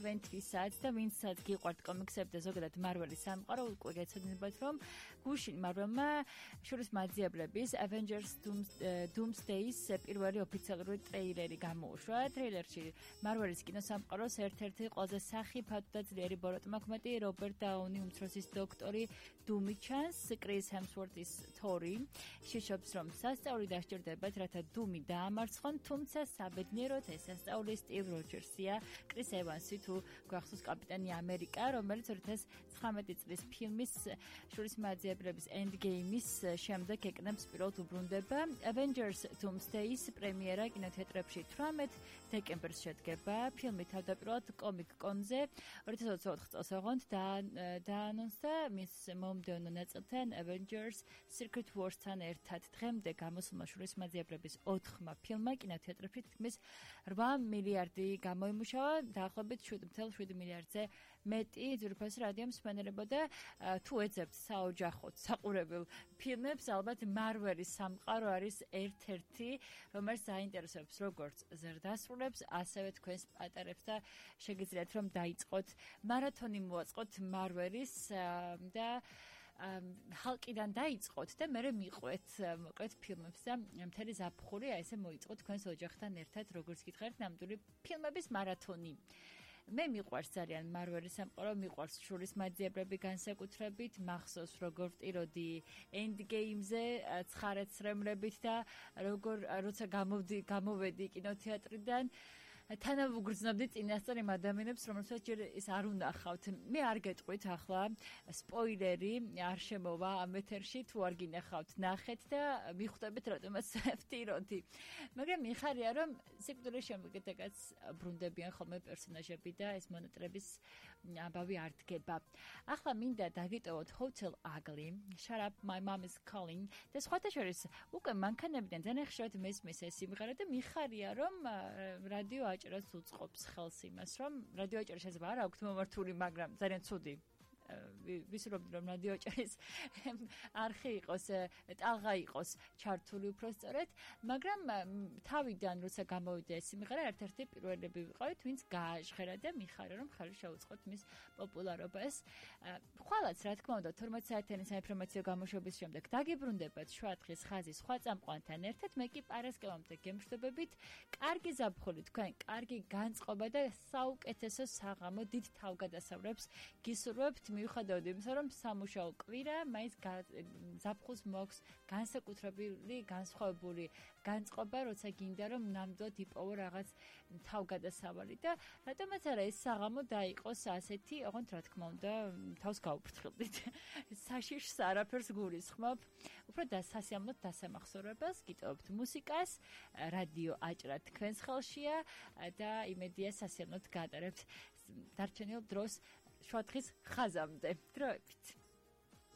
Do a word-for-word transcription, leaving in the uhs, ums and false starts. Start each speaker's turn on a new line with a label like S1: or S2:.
S1: შვიდ და ვინცაც გიყვართ კომიქსები და ზოგადად მარველის სამყარო, უკვე გეცოდინებათ, რომ გუშინ მარველმა შურის მაძიებლების Avengers Doomsday-ის პირველი ოფიციალური ტრეილერი გამოუშვა. ტრეილერში მარველის კინოსამყაროს ერთ-ერთი ყველაზე სახიფათო და ძლიერი ბოროტმოქმედი რობერტ დაუნი უმცროსის დოქტორი დუმი ჩანს, კრის ჰემსვორთის თორი. შიშობს, რომ სასწაული დასჭირდებათ, რათა დუმი დაამარცხონ, თუმცა საბედნიეროდ ეს სასწაული სტივ როჯერსია, კრის ევანსი თუ გვახსოვს კაპიტანი ამერიკა, რომელიც ორი ათას ცხრამეტი წლის ფილმის შურის მაძიებლების Endgame-ის შემდეგ ეკნებს პირველად უბრუნდება. Avengers Doomsday-ის პრემიერა კინოთეატრებში თვრამეტ დეკემბერს შედგება. ფილმი თავდაპირველად კომიკ-კონზე ორი ათას ოცდაოთხ წელს ოღონდ დაანონსდა მის მომდევნო ნაწილთან Avengers Secret Wars-თან ერთად. დღემდე გამოსულმა შურის მაძიებლების ოთხმა ფილმმა კინოთეატრებში თითქმის რვა მილიარდი გამოიმუშავა, დაახლოებით შვიდ ათას შვიდ მილიარდზე მეტი. ძვირფას რადიო მსმენელებოდა თუ ეძებთ საოჯახოდ საყურებელ ფილმებს, ალბათ მარველის სამყარო არის ერთ-ერთი, რომელიც საინტერესებს როგორც ზრდასრულებს, ასევე თქვენს პატარებს და შეგიძლიათ რომ დაიწყოთ მარათონი მოაწყოთ მარველის და ჰალკიდან დაიწყოთ და მერე მიყვეთ მოკლედ ფილმებს და მთელი ზაფხული აი ესე მოიწყოთ თქვენს ოჯახთან ერთად, როგორც გითხარით, ნამდვილი ფილმების მარათონი. მე მიყვარს ძალიან მარველის სამყარო, მიყვარს შურის მაძიებლები განსაკუთრებით, მახსოვს როგორ ვტიროდი Endgame-ზე ცხარაცრემლებით და როგორ როცა გამოვდი გამოვედი კინოთეატრიდან თანავუგრძნობდი წინასწარ იმ ადამიანებს, რომელსაც ჯერ ის არ უნახავთ. მე არ გეტყვით ახლა სპოილერი არ შემოვა ამ ეთერში, თუ არ გინახავთ, ნახეთ და მიხვდებით რატომაც ვტიროდი. მაგრამ მიხარია, რომ სიკვდილის შემდეგაც ბრუნდებიან ხოლმე პერსონაჟები და ეს მონატრების ამბავი არ დგება. ახლა მინდა დაგიტოვოთ Hotel Ugly, Shut Up My Mom Is Calling და სხვათა შორის უკვე მანქანებიდან ძალიან ხშირად მესმის ეს სიმღერა და მიხარია, რომ რადიო აჭერას უწყობს ხელს იმას, რომ რადიო აჭერა შეიძლება არ აქვთ მომართული, მაგრამ ძალიან ცუდი. ვისურვებდი რომ რადიო აჭერის არხი იყოს, ტალღა იყოს ჩართული უფრო სწორედ, მაგრამ თავიდან როცა გამოვიდა ეს სიმღერა, ერთ-ერთი პირველები ვიყავით, ვინც გააჟღერა და მიხარია რომ ხელი შეუწყოთ მის პოპულარობას. ხვალაც რა თქმა უნდა თორმეტ საათიანი საინფორმაციო გამოშვების შემდეგ დაგიბრუნდებათ შუადღის ხაზი სხვა წამყვანთან ერთად, მე კი პარასკევამდე გემშვიდობებით, კარგი ზაფხული თქვენ, კარგი განწყობა და საუკეთესო საღამო დიდ თავგადასავლებს გისურვებთ. მიუხედავად იმისა, რომ სამუშაო კვირა, მაინც ზაფხულს მოაქვს განსაკუთრებული, განსხვავებული განწყობა, როცა გინდა რომ ნამდვილად იპოვო რაღაც თავგადასავალი და რატომაც არა ეს საღამო დაიყოს ასეთი, ოღონდ რა თქმა უნდა, თავს გაუფრთხილდით. საშიშს არაფერს გულისხმობ, უფრო დასასიამოვნოთ დასამახსოვრებელს, გიტოვებთ მუსიკას, რადიო აჭრა თქვენს ხელშია და იმედია სასიამოვნოთ გაატარებთ დარჩენილ დროს შუადღის ხაზამდე. დროებით.